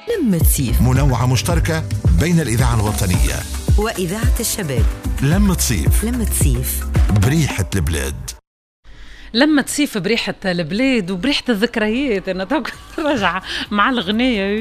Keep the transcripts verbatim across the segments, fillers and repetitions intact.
لمة صيف، منوعة مشتركة بين الإذاعة الوطنية وإذاعة الشباب. لمة صيف، لمة صيف بريحة البلاد. لما تصيف بريحة البلاد وبريحة الذكريات. أنا تو راجعة مع الغنية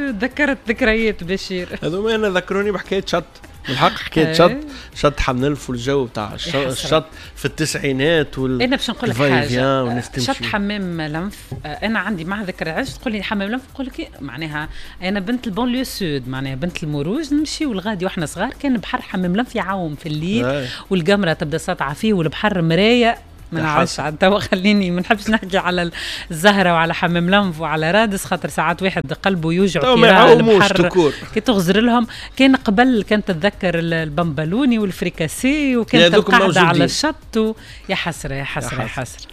ذكرت ذكريات بشير. هذوما أنا ذكروني بحكاية شط، بالحق حكاية شط، شط حمنلف والجو بتاع الشط في التسعينات وال أنا باش نقول لك حاجة، شط حمام لنف أنا عندي مع ذكرى. علاش تقول لي حمام لنف؟ نقول لك معناها أنا بنت ال banlieue sud، معناها بنت المروج، نمشيو لغادي وإحنا صغار كان بحر حمام لنف يعوم في الليل والقمرة تبدا ساطعة فيه والبحر مراية. ما نعرفش عاد توا، خليني ما نحبش نحكي على الزهرة وعلى حمام لنف وعلى رادس، خاطر ساعات واحد قلبه يوجع كي يرى البحر كي تغزر لهم. كان قبل كانت تتذكر البمبلوني والفريكاسي وكانت القعدة على الشط و... يا حسرة يا حسرة يا حسرة،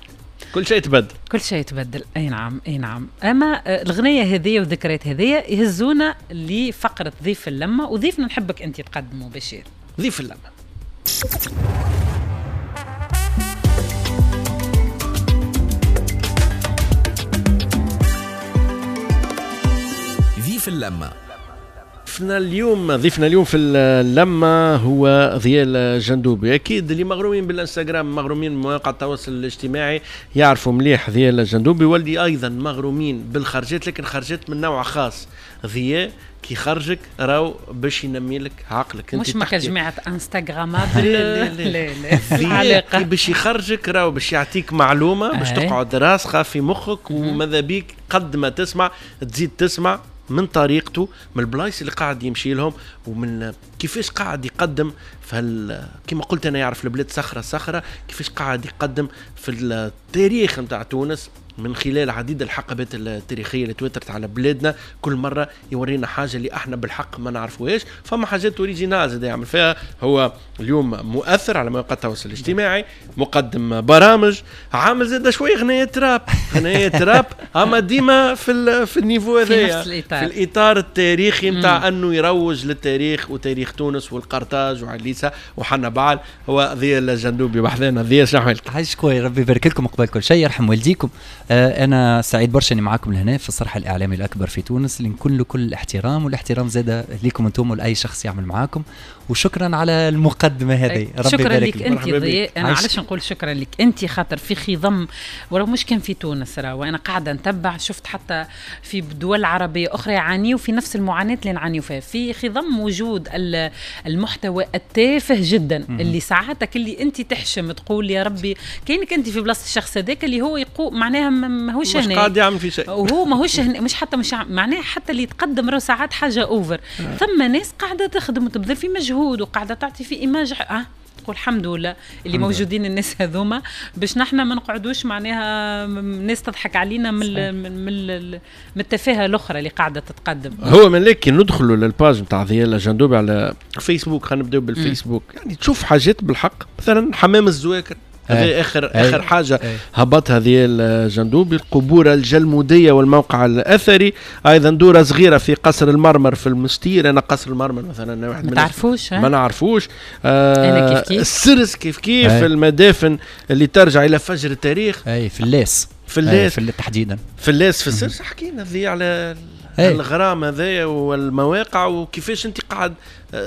كل شيء تبدل، كل شيء تبدل. اي نعم اي نعم. اما الغنية هذه والذكريات هذه يهزونا لفقره ضيف اللمة، وضيفنا نحبك انت تقدمه بشير. ضيف اللمة. في اللمة ضيفنا اليوم، ضيفنا اليوم في اللمة هو ضياء الجندوبي. أكيد اللي مغرومين بالإنستغرام، مغرومين بمواقع التواصل الاجتماعي يعرفوا مليح ضياء الجندوبي، واللي أيضا مغرومين بالخرجات، لكن خرجات من نوع خاص. ضياء كي خرجك راو باش ينمي لك عقلك. مش ما جماعة انستغرام لا لا لا، كي باش يخرجك راو باش يعطيك معلومة باش تقعد راسخة في مخك، وماذا بيك قد ما تسمع تزيد تسمع من طريقته، من البلايص اللي قاعد يمشي لهم، ومن كيفاش قاعد يقدم في كما قلت انا يعرف البلاد صخرة صخرة، كيفاش قاعد يقدم في التاريخ نتاع تونس من خلال عديد الحقبات التاريخية اللي تواترت على بلادنا. كل مرة يورينا حاجة اللي احنا بالحق ما نعرفوهاش، فما حاجات originales زاد يعمل فيها. هو اليوم مؤثر على مواقع التواصل الاجتماعي، مقدم برامج، عامل زاد شوية غنية راب، غنية راب اما ديما في في ال niveau هذايا، في, في الاطار التاريخي نتاع انه يروج للتاريخ وتاريخ تونس والقرطاج وعليسه وحنا بعل. هو ضياء الجندوبي بحذانا. ضياء شنو احوالك؟ عايشك خويا، ربي يبارك لكم قبل كل شيء، يرحم والديكم. أنا سعيد برشا إني معاكم لهنا في الصرح الإعلامي الأكبر في تونس، اللي نكون له كل الاحترام، والاحترام زاد ليكم أنتم ولأي شخص يعمل معاكم. وشكرا على المقدمة هذه، ربي شكرا يبارك لك أنت ضياء. أنا علاش نقول شكرا لك أنت؟ خاطر في خضم ولو مش كان في تونس راه، وأنا قاعدة نتبع، شفت حتى في دول عربية أخرى يعانيوا في نفس المعاناة اللي نعانيوا فيها، في خضم وجود المحتوى التافه جدا م- اللي ساعاتك اللي أنت تحشم تقول يا ربي كأنك أنت في بلاصة الشخص هذاك اللي هو يقول معناها ماهوش هنا، مش قاعد يعمل في شيء، وهو ماهوش هنا، مش حتى مش معناها حتى اللي يتقدم راه ساعات حاجة over. ثم ناس قاعدة تخدم وتبذل في مجهود وقاعدة تعطي في image، اه تقول الحمد لله اللي موجودين الناس هذوما باش نحن ما نقعدوش معناها ناس تضحك علينا من من من التفاهة الاخرى اللي قاعدة تتقدم. هو من لكن ندخلوا لل page نتاع ضياء الجندوبي على فيسبوك، خلينا نبداو بالفيسبوك. يعني تشوف حاجات بالحق، مثلا حمام الزواكر هذه اخر أي. اخر حاجة أي. هبطها ضياء الجندوبي، القبور الجلموديه والموقع الاثري، ايضا دوره صغيرة في قصر المرمر في المستير. انا قصر المرمر مثلا واحد ما تعرفوش، ما نعرفوش. آه انا كيف كيف السرس كيف كيف أي. المدافن اللي ترجع الى فجر التاريخ، اي في اللاس، في اللاس في تحديدا في اللاس في السرس. حكينا ذي على الغرام هذايا والمواقع وكيفاش انت قاعد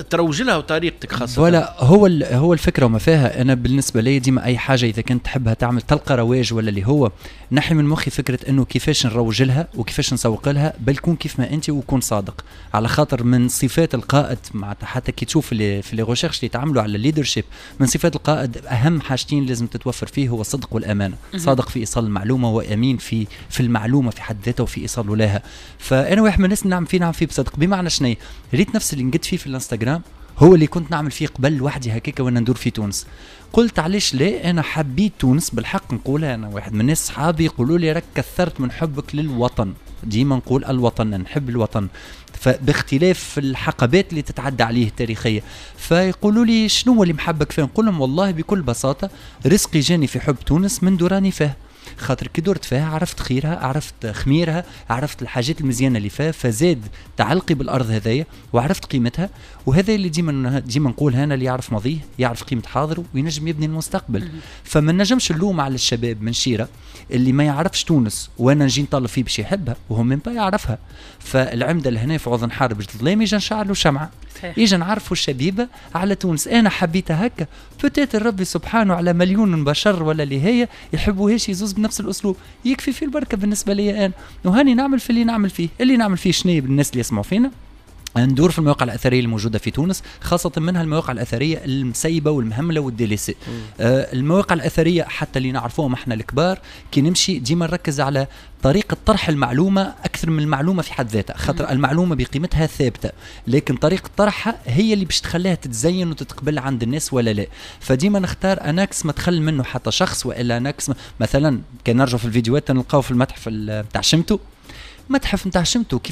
تروج لها وطريقتك خاصة. ولا هو هو الفكرة وما فيها. انا بالنسبة لي ديما اي حاجة اذا كنت تحبها تعمل تلقى رواج ولا اللي هو نحي من مخي فكرة انه كيفاش نروج لها وكيفاش نسوق لها، بل كون كيف ما انت وكون صادق. على خاطر من صفات القائد، مع حتى كي تشوف اللي في les recherches اللي تعملوا على ال leadership، من صفات القائد اهم حاجتين لازم تتوفر فيه هو الصدق والامانة. صادق في ايصال المعلومة وامين في في المعلومة في حد ذاتها وفي ايصاله لها. فانا واحد من الناس نعم فيه نعم فيه بصدق. بمعنى شنو؟ ريت نفس اللي نقد فيه في الانستغرام هو اللي كنت نعمل فيه قبل لوحدي هكاك وانا ندور في تونس. قلت علاش لا، انا حبيت تونس بالحق نقولها. انا واحد من الناس صحابي يقولوا لي راك كثرت من حبك للوطن، ديما نقول الوطن، نحب الوطن، فباختلاف الحقبات اللي تتعدى عليه التاريخية. فيقولوا لي شنو اللي محبك فيه؟ نقول لهم والله بكل بساطة رزقي جاني في حب تونس من دوراني فيه. خاطر كي درت فيها عرفت خيرها، عرفت خميرها، عرفت الحاجات المزيانه اللي فيها، فزاد تعلقي بالارض هذايا وعرفت قيمتها. وهذا اللي ديما ديما نقول هنا، اللي يعرف ماضيه يعرف قيمة حاضره وينجم يبني المستقبل. فما نجمش نلوم على الشباب من شيره اللي ما يعرفش تونس وانا نجي نطلب فيه باش يحبها وهو même pas يعرفها. فالعمده لهنا في عوض نحارب الظلام يجي نشعلوا شمعة، يجي نعرفوا الشبيبة على تونس. انا حبيتها هكا، peut-être ربي سبحانه على مليون بشر ولا اللي هي يحبوهاش يزوز بنفس الاسلوب، يكفي في البركة بالنسبة لي انا. وهاني نعمل في اللي نعمل فيه، اللي نعمل فيه شنو بالناس اللي يسمعوا فينا، ندور في المواقع الاثرية الموجودة في تونس، خاصة منها المواقع الاثرية المسيبه والمهمله وال délaissées. آه المواقع الاثرية حتى اللي نعرفوهم احنا الكبار، كي نمشي ديما نركز على طريقه طرح المعلومة اكثر من المعلومة في حد ذاتها، خاطر المعلومة بقيمتها ثابتة، لكن طريقه طرحها هي اللي باش تخليها تتزين وتتقبل عند الناس ولا لا. فديما نختار un axe ما تخل منه حتى شخص، والا un axe مثلا كان نرجع في الفيديوهات نلقاو في المتحف نتاع شمتو، متحف نتاع شمتو كيفاش